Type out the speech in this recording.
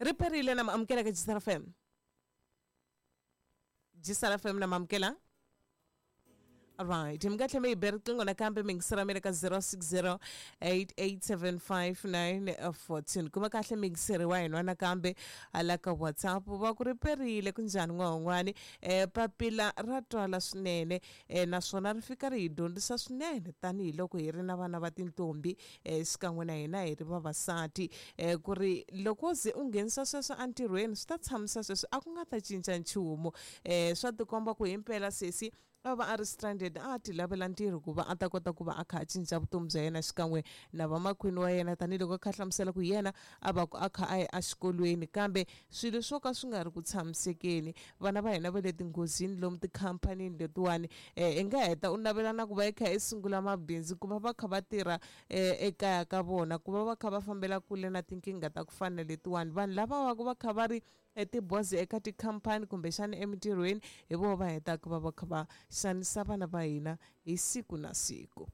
Ri perile na maamukela ka Gisela FM. Gisela FM na maamukela. Right. Mi nga tlhela mi yi be riqingho nakambe mi yingisela mi le ka 0608875914. Kuma kahle miyingiseri wa hina nakambe hala ka WhatsApp va ku ri perile ku njhani n'wan'wani. Papila ra twala swinene naswona ri fika ri hi dyondzisa swinene tanihiloko hi ri na vana va tintombi xikan'we na hina hi ri vavasati ku ri loko ze u nghenisa sweswo entirhweni swi ta tshamisa sweswo a ku nga ta cinca nchumu. Swa tikomba ku himpela sesi a va a ri stranded a ti lavela ntirho ku va a ta kota ku va a kha a cinca vutomi bya yena xikan'we na vamakwenu wa yena tanihiloko a kha a hlamusela ku yena a va ku a kha a ya exikolweni kambe swilo swo ka swi nga ri ku tshamisekeni vana va hina va le tinghozini lomu tikhampanini letiwani i nga heta u navela na ku va i kha i sungula mabindzu ku va va kha va tirha ekaya ka vona ku va va kha va fambela kule na tinkingha ta ku fana na letiwani vanhu lava va ku va kha va ri etibozi eka tikhampani kumbexana emintirhweni hi vona va hetaka va va kha va xanisa vana va hina hi siku na siku.